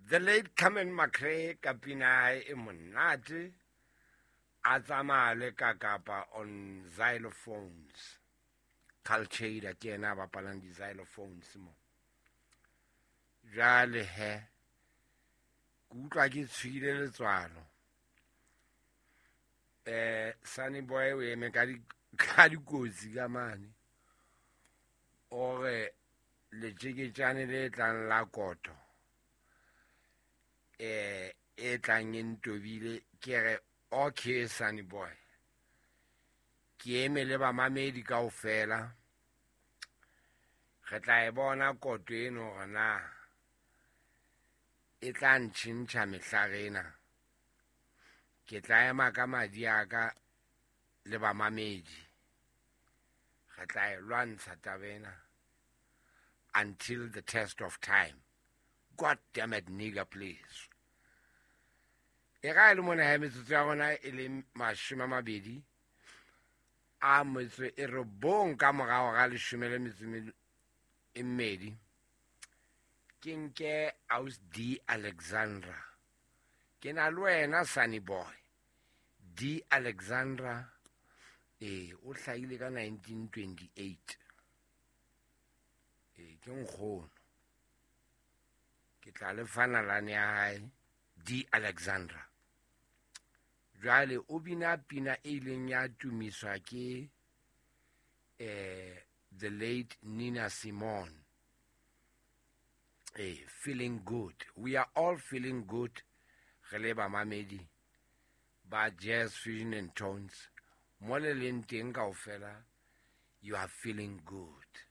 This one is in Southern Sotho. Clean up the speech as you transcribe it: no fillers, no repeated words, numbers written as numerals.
The late Carmen McRae ka pina ya hae e monate, a tsamaya le Kakapa on xylophones. Carl Chader ke yena a bapalang di-xylophones mo. Jwale he, ke utlwa ke tshwile letswalo. Sunny Boy o eme ka dikotsi ka mane. O re letjeketjane le tlang la koto, e tlang e ntobile, ke re okay Sunny Boy, ke eme le bamamedi kaofela, re tla e bona koto eno hore na e tla ntjhentjha mehlare ena. Ke tla ema ka madi a ka le bamamedi, re tla e lwantsha taba ena until the test of time. God damn it, nigga, please. E ga e le mona ya metsotso ya rona e le 29 ka morao ga 12. Ke nke Aus D Alexandra. Ke na le wena Sunny Boy. D Alexandra, o hlahile ka 1928. Ke nkgono. Ke tla le fa nalane ya hae, D Alexandra. Jwale o bina pina e ileng ya tumiswa ke the late Nina Simone. Feeling good. We are all feeling good. Re le bamamedi ba Jazz Fusion and Tones. Mo le leng teng kaofela, you are feeling good.